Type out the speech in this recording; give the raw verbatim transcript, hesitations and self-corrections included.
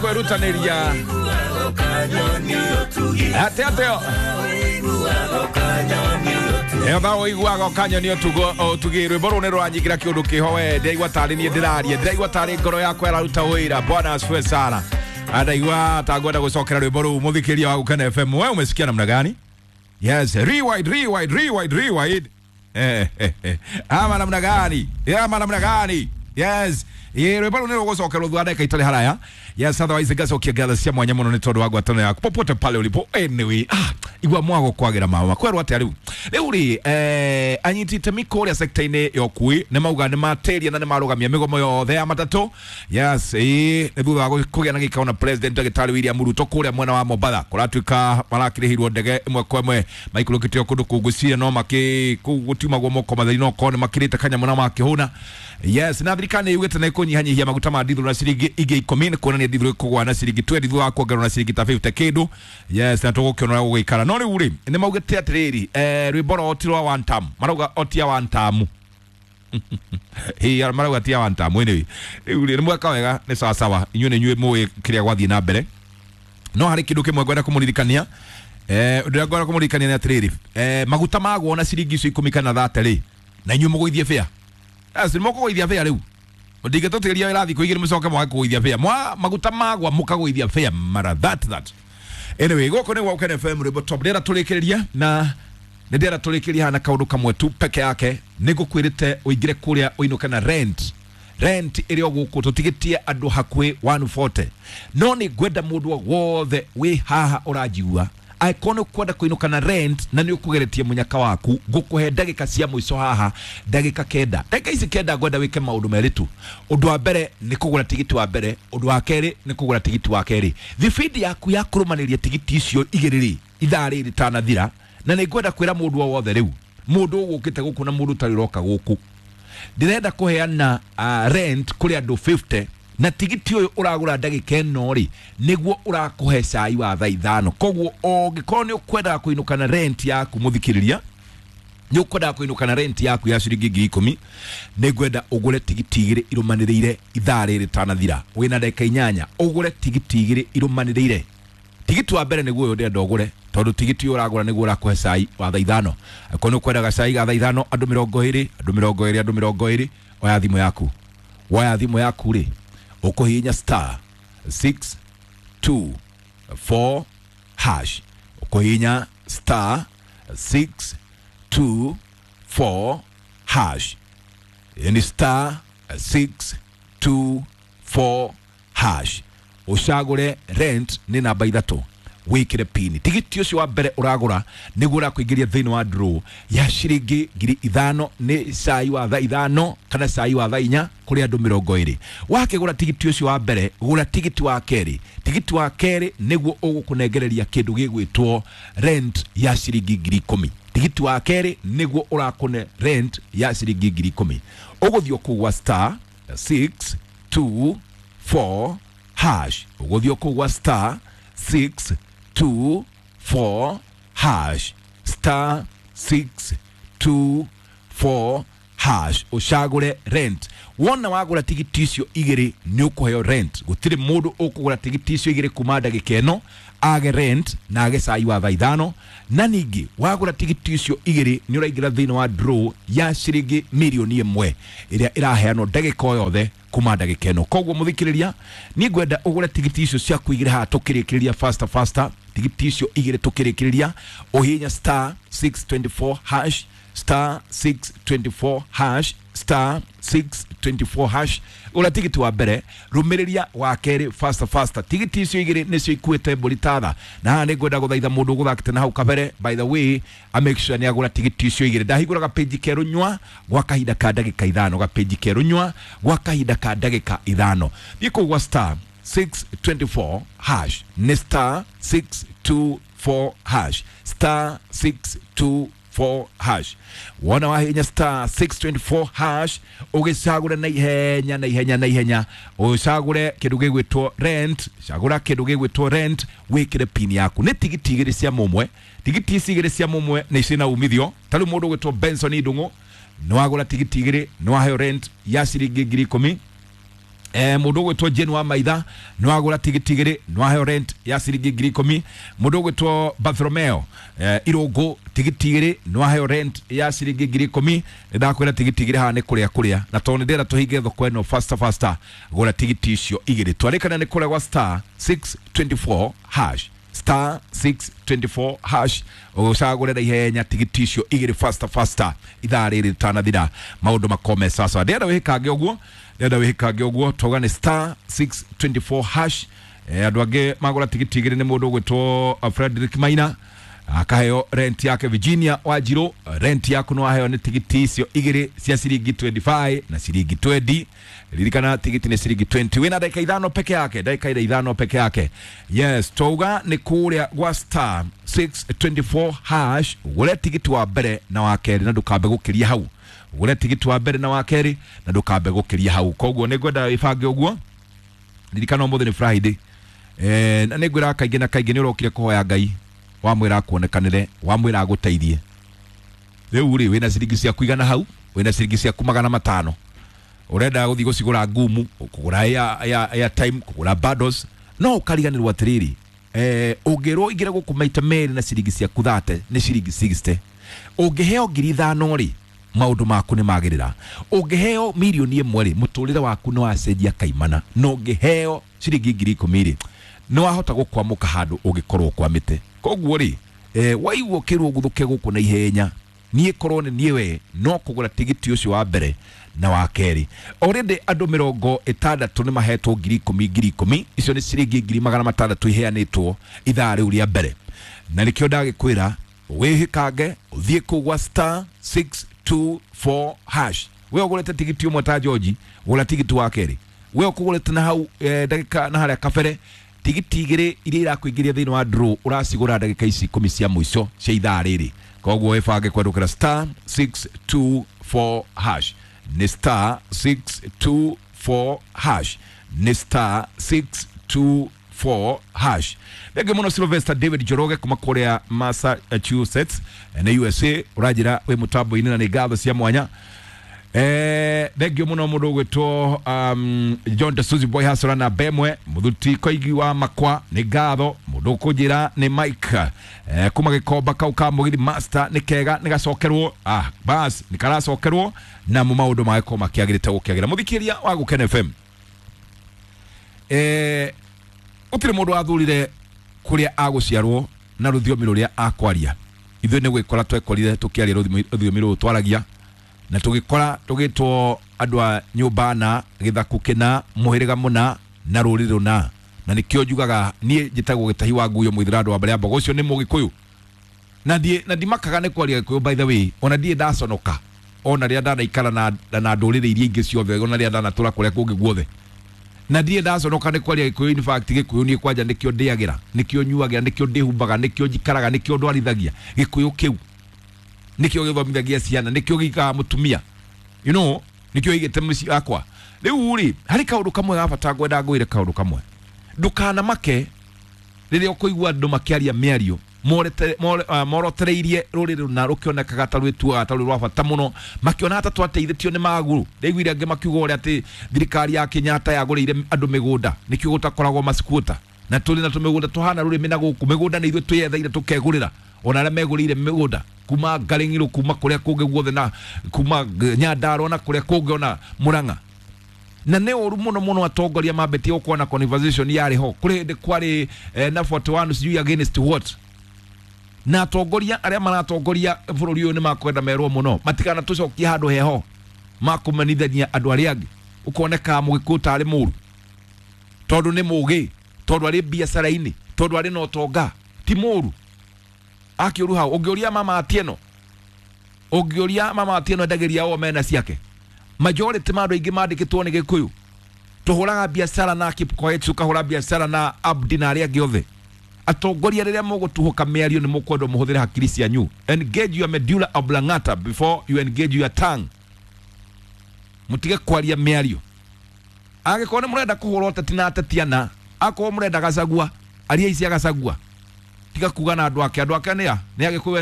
Kwerutanĩria atĩ atĩ ĩyo tha ũiguaga ũkanyoni ũtugi rwĩmbo rũu nĩ rũranyingĩra kĩũndũ kĩho we ndĩraigua tarĩ niĩ ndĩraria ndĩraigua tarĩ ngoro yakwa ĩraruta wĩra. Bwana asifiwe sana. Ndaigua ta ngwenda gũcokera rwĩmbo rũu mũthikĩria wa Gũkena F M. Wewe umesikia namna gani? Yes, rewind, rewind, rewind, rewind. Eh, eh, eh. Ama namna gani? Ama namna gani? Yes. Ye rwĩmbo rũu nĩ rũgũcokerwo thutha wa ndagĩka itarĩ haraya. Yes, otherwise ngacokia ngatho cia mwanya mũno nĩ tondũ wa ngwatanĩro yaku popote pale ulipo. Anyway, ah, igua mwago kwagĩra mama kwerwo atĩa rĩu rĩu rĩ eh, anyiti itemi kũrĩa sekta-inĩ ya ũkui nĩ mauga nĩ matĩria na nĩ marũgamia mĩgomo yothe ya matatũ. Yes, ĩĩ nĩ thutha wa kũgĩa na gĩikaro na President Ndagĩtarĩ William Ruto kũrĩa mwena wa Mombatha kũratuĩka marakĩrĩhirwo ndege ĩmwe kwa ĩmwe maikũrũkĩtio kũndũ kũu ngwĩciria no makĩ kũu gũtiumagwo moko matheri no korwo nĩ makĩrĩte kanyamũ na makĩhũna. Yes, na thirikari nĩ yugĩte nĩ ĩkũnyihanyihia maguta ma ndithũrũ na ciringi ingĩ ikũmi nĩ kuonania ndithũrũ ĩkũgũa na ciringi twendi thutha wa kuongererwo na ciringi ta fifty kĩndũ. Yes, na tũgũkĩona ũrĩa gũgũikara. No rĩu rĩ nĩ maugĩte atĩrĩrĩ eh, rwĩmbo rwao ti rwa one term, marauga o ti ya one term. Ĩĩ marauga ti ya one term. Anyway, rĩu rĩ nĩ mweka wega nĩ sawa sawa, inyuĩ nĩ inyuĩ mũĩ kĩrĩa gwathiĩ na mbere. No harĩ kĩndũ kĩmwe ngwenda kũmũririkania. Eh, ũndũ ũrĩa ngwenda kũmũririkania nĩ atĩrĩrĩ eh, maguta magwo na ciringi icio ikũmi kana thate rĩ na inyuĩ mũgũithie bĩa. Yes, nĩ mũkũgũithia bĩa rĩu ndingĩtũtigĩria wĩra thikũ igĩrĩ mũcoke mwage kũgũithia bĩa mwa maguta magwa mũkagũithia bĩa mara that that. Anyway, gũkũ nĩ Gũkena F M rwĩmbo top ndĩrenda tũrĩkĩrĩria na nĩ ndĩrenda tũrĩkĩrĩria hana kaũndũ kamwe tu peke yake. Nĩ ngũkwĩrĩte ũingĩre kũrĩa ũinũke na rent rent ĩrĩ o gũkũ tũtigĩtie andũ hakuhĩ one forty. No nĩ ngwenda mũndũ wothe wĩ haha ũranjigua angĩkorwo nĩ ũkwenda kũinũka na rent na nĩ ũkũgeretie mũnyaka waku ngũkũhe ndagĩka cia mũico haha ndagĩka kenda. Ndagĩka ici kenda ngwenda wĩke maũndũ merĩ tu. Ũndũ wa mbere nĩ kũgũra tigiti wa mbere, ũndũ wa kerĩ nĩ kũgũra tigiti wa kerĩ. Thibindi yaku ya kũrũmanĩria tigiti icio igĩrĩ rĩ ithaa rĩrĩ rĩtanathira, na nĩ ngwenda kwĩra mũndũ o wothe rĩu mũndũ ũgũkĩte gũkũ na mũndũ ũtarĩ ũroka gũkũ ndĩrenda kũheana uh, rent kũrĩ andũ fifty na tigiti ũyũ ũragũra ndagĩka ĩno rĩ nĩguo ũrakũhe cai wa thaa ithano. Koguo ũngĩkorwo nĩ ũkwendaga kũinũka na rent yaku mũthikĩrĩria nĩ ũkwendaga kũinũka na rent yaku ya ciringi ngiri ikũmi nĩ ngwenda ũgũre tigiti igĩrĩ irũmanĩrĩire ithaa rĩrĩ rĩtanathira. Wĩna ndagĩka inyanya ũgũre tigiti igĩrĩ irũmanĩrĩire. Tigiti wa mbere nĩguo ũyũ ndĩrenda ũgũre tondũ tigiti ũyũ ũragũra nĩguo ũrakũhe cai wa thaa ithano. Angĩkorwo nĩ ũkwendaga cai ga thaa ithano andũ mĩrongo ĩrĩ andũ mĩrongo ĩrĩ andũ mĩrongo ĩrĩ oya thimũ yaku. Woya thimũ yaku rĩ ũkũhihinya star six two four hash ũkũhihinya star six two four hash yani star six two four hash ũcagũre rent nĩ namba ithatũ wĩkĩre pini. Tigiti ũcio wa mbere ũragũra nĩguo ũrakũingĩria thĩinĩ wa draw ya ciringi ngiri ithano nĩ cai wa thaa ithano kana cai wa thaa inya kũrĩ andũ mĩrongo ĩrĩ. Wakĩgũra tigiti ũcio wa mbere gũra tigiti wa kerĩ. Tigiti wa kerĩ nĩguo ũgũkũnengereria kĩndũ gĩgwĩtwo rent ya ciringi ngiri ikũmi. Tigiti wa kerĩ nĩguo ũrakũne rent ya ciringi ngiri ikũmi. Ũgũthiĩ kũu gwa star six two four hash ũgũthiĩ kũu gwa star six two four hash star six two four hash ũcagũre rent. Wona wagũra tigiti icio igĩrĩ nĩ ũkũheo rent. Gũtirĩ mũndũ ũkũgũra tigiti icio igĩrĩ kuma ndagĩka ĩno age rent na age cai wa thaa ithano. Na ningĩ wagũra tigiti icio igĩrĩ nĩ ũraingĩra thĩinĩ wa draw ya ciringi mirioni ĩmwe ĩrĩa ĩraheanwo ndagĩka o yothe kuma ndagĩka ĩno. Koguo mũthikĩrĩria niĩ ngwenda ũgũre tigiti icio ciaku igĩrĩ haha tũkĩrĩkĩrĩria faster faster. Tigiti icio igĩrĩ tũkĩrĩkĩrĩria ũhihinya star six twenty four hash star six twenty four hash star six twenty four hash gũra tigiti wa mbere rũmĩrĩria wa kerĩ faster faster. Tigiti icio igĩrĩ nĩcio ikuĩte mbũri tatha. Na haha nĩ ngwenda gũthaitha mũndũ ũgũthakĩte na hau kabere by the way a make sure nĩ agũra tigiti icio igĩrĩ. Ndahingũra gapĩnji kerũ nyua gwa kahinda ka ndagĩka ithano gapĩnji kerũ nyua gwa kahinda ka ndagĩka ithano. Thiĩ kũu gwa star six twenty four hash nĩ star six two four hash star six two four hash. Wona wahinya star six twenty four hash ũgĩcagũre na ihenya na ihenya na ihenya ũcagũre kĩndũ gĩgwĩtwo rent cagũra kĩndũ gĩgwĩtwo rent wĩkĩre pin yaku. Nĩ tigiti igĩrĩ cia mũmwe tigiti ici igĩrĩ cia mũmwe nĩ ciĩna umithio. Ta rĩu mũndũ ũgwĩtwo Benson Ndung'u nĩ wagũra tigiti igĩrĩ nĩ waheo rent ya ciringi ngiri ikũmi. Eh, mundu ugwitwo Jane wa Maitha nwagura tigiti igiri nwaheo rent ya ciringi ngiri ikumi. Mundu ugwitwo Bartholomeo eh, Irungu tigiti igiri nwaheo rent ya ciringi ngiri ikumi. Ndakwira tigiti igiri haha ni kuria kuria na tondu ndira tuhinge thoko ino faster faster, gura tigiti icio igiri twarikana ni kuria gwa star six twenty-four hash star six twenty-four hash ucagure na ihenya tigiti icio igiri faster faster ithaa riri ritanathira maundu makome sasa. Ndĩrenda wĩhĩkange ũguo, ndĩrenda wĩhĩkange ũguo tauga nĩ star six twenty-four hash. Eh, andũ angĩ magũra tigiti igĩrĩ nĩ mũndũ ũgwĩtwo Frederick Maina akaheo rent yake. Virginia Wanjiru rent yaku no aheo nĩ tigiti icio igĩrĩ cia ciringi twenty-five na ciringi twenty. Ririkana tigiti nĩ ciringi twenty, wĩna ndagĩka ithano peke yake, ndagĩka ira ithano peke yake. Yes, twauga nĩ kũrĩa gwa star six twenty-four hash ũgũre tigiti wa mbere na wa kerĩ na ndũkambe gũkĩria hau, ũgũre tigiti wa mbere na wa kerĩ na ndũkambe gũkĩria hau. Koguo nĩ ngwenda wĩbange ũguo. Ririkana ũmũthĩ nĩ Friday, eh, na nĩ ngwĩraga kaingĩ na kaingĩ nĩ ũrokire kũhoya Ngai wamwĩra akuonekanĩre, wamwĩra agũteithie. Rĩu rĩ wĩna ciringi ciaku igana hau, wĩna ciringi ciaku magana matano, ũrenda gũthiĩ gũcigũra ngumu, kũgũra airtime, kũgũra bundles, no ũkariganĩrwo atĩrĩrĩ, eh, ũngĩrwo ingĩre gũkũ maita merĩ na ciringi ciaku thate nĩ ciringi sixty, ũngĩheo ngiri ithano rĩ maũndũ maku nĩ magĩrĩra, ũngĩheo mirioni ĩmwe rĩ mũtũrĩre waku nĩ wacenjia kaimana, na ũngĩheo ciringi ngiri ikũmi rĩ nĩ wahota gũkwamũka handũ ũngĩkorwo ũkwamĩte. Koguo rĩ eh, waigua ũkĩrwo ũguthũke gũkũ na ihenya, niĩ korwo nĩ niĩ we no kũgũra tigiti ũcio wa mbere na wa kerĩ. Already andũ mĩrongo ĩtandatũ nĩ mahetwo ngiri ikũmi ngiri ikũmi, icio nĩ ciringi ngiri magana matandatũ iheanĩtwo ithaa rĩu rĩa mbere, na nĩkĩo ndagĩkwĩra wĩhĩkange ũthiĩ kũu gwa star six two four hash. We ũgũrĩte tigiti ũmwe ta George, gũra tigiti wa kerĩ. We ũkũgũrĩte na hau eh, ndagĩka na harĩa kabere tigiti igĩrĩ iria irakũingĩria thĩinĩ wa draw ũracigũra ndagĩka ici ikũmi cia mũico cia ithaa rĩrĩ. Koguo wĩbange kwendũkĩra star six two four hash, nĩ star six two four hash, nĩ star six two four hash. Thengiũ mũno Sylvester David Njoroge kuma kũrĩa Massachusetts nĩ U S A, ũranjĩra wĩ mũtambo-inĩ na nĩ ngatho cia mwanya. Eh, thengiũ mũno mũndũ ũgwĩtwo um, John de Suzy Boy Hasora na Bemwe Mũthuti Koigi wa Makwa nĩ ngatho. Mũndũ ũkũnjĩra nĩ Mike eh, kuma Gĩkomba kau ka Mũgithi Master nĩ kega nĩ gacokerwo, ah, bas nĩ karacokerwo namo maũndũ magĩkorwo makĩagĩrĩte gũkĩagĩra. Mũthikĩria wa Gũkena F M, eh, gũtirĩ mũndũ wathurire kũrĩa agũciarwo na rũthiomi rũrĩa akwaria. Ithuĩ nĩ gwĩkora twekorire tũkĩaria rũthiomi rũrũ twaragia, na tũgĩkora tũgĩtwo andũ a nyũmba na gĩthaku kĩna mũhĩrĩga mũna na rũrĩrĩ rũna, na nĩkĩo njugaga niĩ njĩtagwo Gĩtahi wa Nguyo Mũithĩra andũ wa mbere ya mbogo, ũcio nĩ Mũgĩkũyũ, na ndiĩ na ndimakaga nĩ kwaria Gĩkũyũ by the way, ona ndiĩ ndaconoka ona rĩrĩa ndanaikara na na ndũrĩrĩ iria ingĩ ciothe, ona rĩrĩa ndanatũra kũrĩa kũngĩ guothe, na ndiĩ ndaconoka nĩ kwaria Gĩkũyũ. In fact Gĩkũyũ niĩ kwanja nĩkĩo ndĩagĩra, nĩkĩo nyuagĩra, nĩkĩo ndĩhumbaga, nĩkĩo njikaraga, nĩkĩo ndwarithagia. Gĩkũyũ kĩu nĩkĩo gĩthomithagia ciana, nĩkĩo gĩikaga mũtumia, you know, nĩkĩo igĩte mũciĩ wakwa. Rĩu rĩ harĩ kaũndũ kamwe ga bata ngwenda ngwĩre kaũndũ kamwe, ndũkanamake rĩrĩa ũkũigua andũ makĩaria mĩario morotereirie rũrĩrĩ rũna rũkĩonekaga ta rwĩtuaga ta rwĩ rwa bata mũno, makĩona ta twateithĩtio nĩ magũrũ. Ndaiguire angĩ makiuga ũrĩa atĩ thirikari ya Kenyatta yagũrĩire andũ mĩgũnda, nĩkĩo gũtakoragwo masikuota, na tũrĩ na tũmĩgũnda tũhana rũrĩmĩ na gũkũ mĩgũnda nĩ ithuĩ twĩyetheire tũkegũrĩra, ona arĩa megũrĩire mĩgũnda kuma Ngaring'iro, kuma kũrĩa kũngĩ guothe, na kuma Nyandarua na kũrĩa kũngĩ ona Murang'a. Na nĩ ũru mũno mũno atongoria mambetie gũkorwo na conversation yarĩ ho kũrĩ hĩndĩ kwarĩ eh, na forty-one sijui against what, na atongoria arĩa maratongoria bũrũri ũyũ nĩ makwenda merwo mũno matikana tũcokie handũ heho makũmenithania andũ arĩa angĩ, ũkoneka Mũgĩkũyũ tarĩ mũru tondũ nĩ mũgĩ, tondũ arĩ biacara-inĩ, tondũ arĩ na ũtonga, ti mũru akĩũru hau. Ũngĩũria mama Atieno, ũngĩũria mama Atieno endagĩria o mena ciake, majority ma andũ aingĩ mandĩkĩtwo nĩ Gĩkũyũ. Tũhũraga biacara na Kipkoech, tũkahũra biacara na Abdi na arĩa angĩ othe. Atongoria rĩrĩa mũgũtuhũka mĩario nĩ mũkwendwo mũhũthĩre hakiri cianyu. Engage your medulla oblongata before you engage your tongue. Mũtige kwaria mĩario. Angĩkorwo nĩ mũrenda kũhũra ũteti na ateti ana, akorwo mũrenda Gachagua, aria ici Gachagua, tiga kuga na andũ ake. Andũ ake nĩ a? Nĩ Agĩkũyũ.